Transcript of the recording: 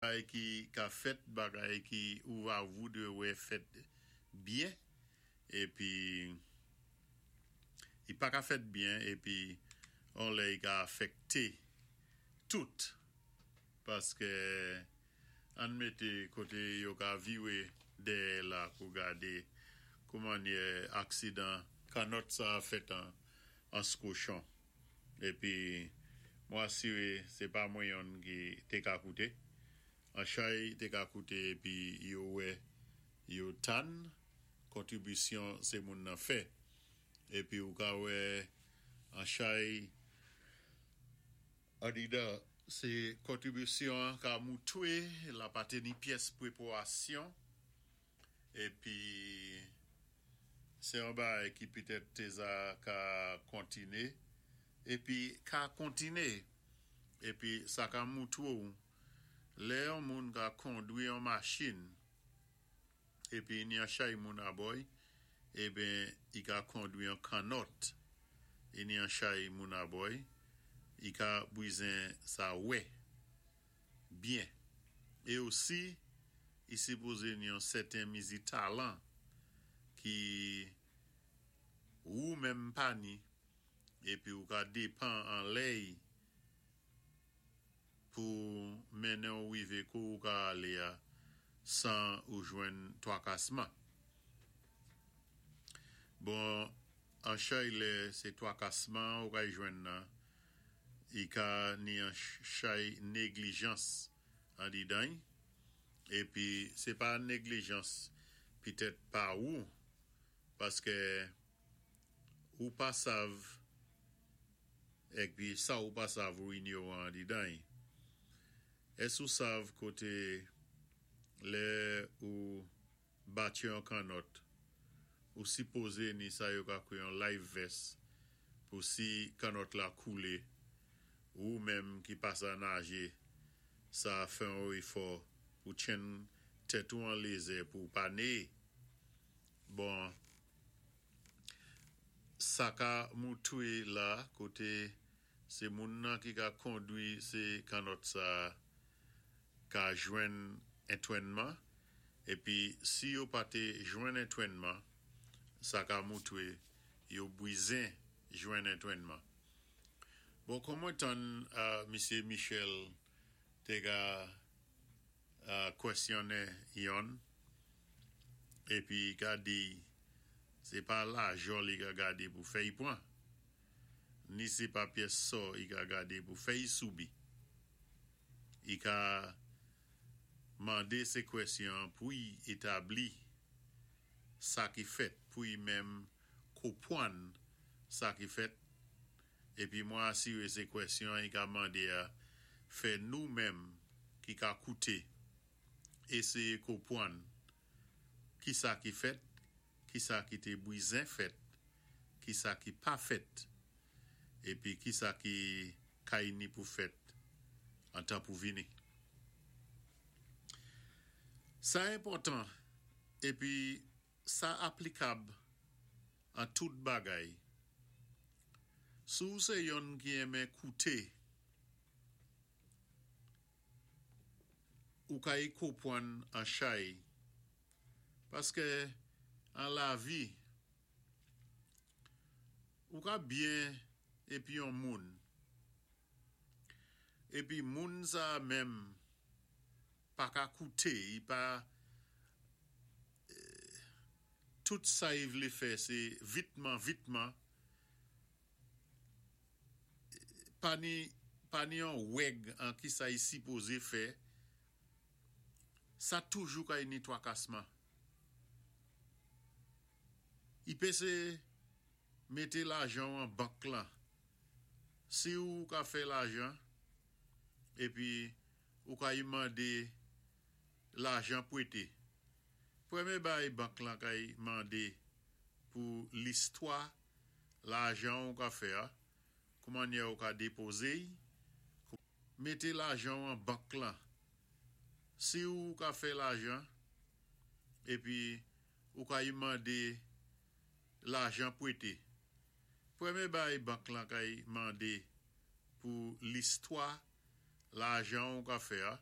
Bagay ki ka fèt, bagay ki ou va voudwé wè fèt byen, épi i pa ka fèt byen épi on lè i ka afèkté tout paské ann mété koté yo ka viwé dèyè la pou gadé koumannyè aksidan kannòt sa fèt an Anse-Cochon épi mwen asiré sé pa mwen yonn ki té ka kouté an chay té ka kouté épi yo wè yo tann kontribisyon sé moun nan fè épi ou ka wè an chay andidan sé kontribisyon an ka moutwé la pa té ni pyès pwépwasyon. Épi sé yon bagay ki pitèt té za ka kontiné épi ka kontiné épi sa ka moutwé-w lè yon moun ka kondwi yon machin épi ni yon chay moun abò-y eben i ka kondwi yon kannòt i ni yon chay moun abò-y i ka bwizen sa wè. Byen. É osi, i sipozé ni yon sèten mizi talan ki wou menm pa ni épi ou ka dépan an lèy pou mennen-w wivé kou ou ka alé a 100 ou jwenn twakasman. Bon, an chay lè sé twakasman ou kay jwenn nan, i ka ni an chay néglijans andidan-y, épi sé pa néglijans pitèt pa wou, paské ou pa sav épi sa ou pa sav ou inyowan andidan-y. Ès ou sav koté lè ou batye yon kannòt, ou sipozé ni sa yo ka kwé yon life vest pou si kannòt la koulé, wou menm ki pa sa najé, sa fè yon éfò pou tchenn tèt ou an lézè pou pa néyé. Bon, sa ka moutwé la koté sé moun nan ki ka kondwi sé kannòt sa ka jwenn entwènman épi si yo pa té jwenn entwènman, sa ka moutwé yo bwizen jwenn entwènman. Bon, kon mwen tann misyé Michel té ka kwèsyonnen yonn épi i ka di sé pa lajò li ka gadé pou fè-y pwan, ni sé pa pyès sò i ka gadé pou fè-y soubi. I ka mandé sé kwèsyon pou-y établi sa ki fèt, pou-y menm konpwann sa ki fèt, épi mwen asiré sé kwèsyon i ka mandé a fè nou menm ki ka kouté éséyé konpwann ki sa ki fèt, ki sa ki té bwizen fèt, ki sa ki pa fèt, épi ki sa ki kay ni pou fèt an tan pou vini. Sa enpòtan épi sa aplikab an tout bagay. Si ou sé yonn ki enmen kouté, ou kay konpwann an chay, paské an lavi, ou ka byen épi yon moun, épi moun sa menm pa ka kouté, i pa tout sa i vlé fè sé vitman vitman, pa ni pa ni yon wèg an ki sa i sipozé fè, sa toujou kay ni twakasman. I pésé mété lajan-w an bank lan. Si ou ka fè lajan épi ou kay mandé lajan pwété, pwémyé bagay bank lan kay mandé pou listwa lajan ou ka fè a, koumannyè ou ka dépozé-y, mété lajan-w an bank lan. Si ou ka fè lajan épi ou kay mandé lajan pwété, pwémyé bagay bank lan kay mandé pou listwa lajan ou ka fè a,